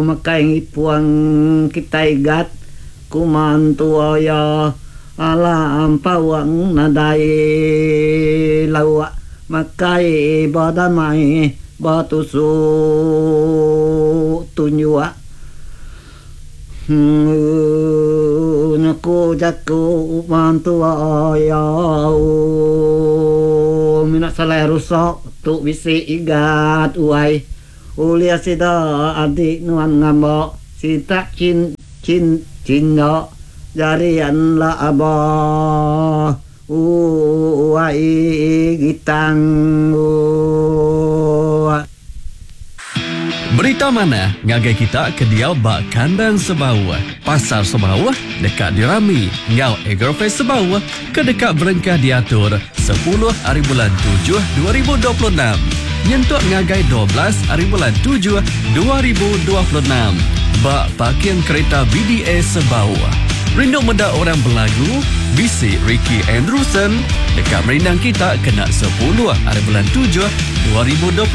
Makai ngipung kitai gat, ku mantua iya alah ampaung nadai lauk makai bedamai betusuk tunjuk. Nya ku jaku mantua iya. Mina salai rusak tu bisi igat wai. Ulih sida adik nuan ngamba sitak chin chin chinda jari enda aba uai gitang ua. Berita manah ngagai kita ke diau ba kandang Sebauh. Pasar Sebauh deka dirami enggau Agrofest Sebauh ke deka berengkah diatur sepuluh ari bulan Tujuh 2026 nyentuk ngagai 12 ari bulan Tujuh 2026 ba Parking Kereta BDA Sebauh. Rindu meda orang belagu? Bisi Ricky Andrewson deka merindang kita kena sepuluh ari bulan Tujuh 2026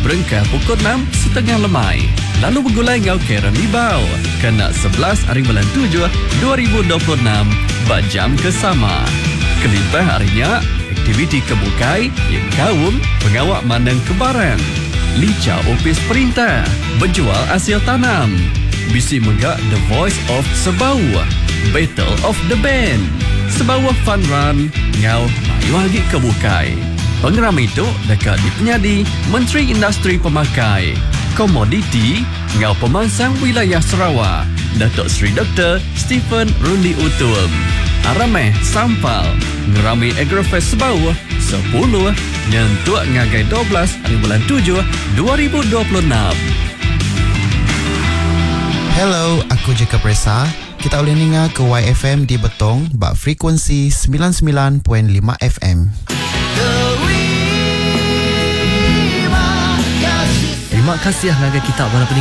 berengkah pukul enam setengah lemai. Lalu begulai enggau Karen Libau kena 11 ari bulan Tujuh 2026 ba jam ke sama. Kelimpah ari nya, aktiviti ke bukai nyengkaum pengawa mandang ke barang, licha opis perintah, bejual asil tanam, bisi mega The Voice of Sebauh, Battle of the Band, Sebauh Fun Run enggau mayuh agi ke bukai. Pengerami tu deka dipenyadi Menteri Industri Pemakai, Komoditi enggau Pemansang Wilayah Sarawak, Datuk Seri Doktor Stephen Rundi Utum. Aram meh sampal ngerami Agrofest Sebauh sepuluh nyentuk ngagai 12 hari bulan tujuh 2026. Hello, aku Jacob Ressa. Kita ulih ninga ke YFM di Betong ba frekuensi 99.5 FM. Terima kasih ngagai kita bala peninga.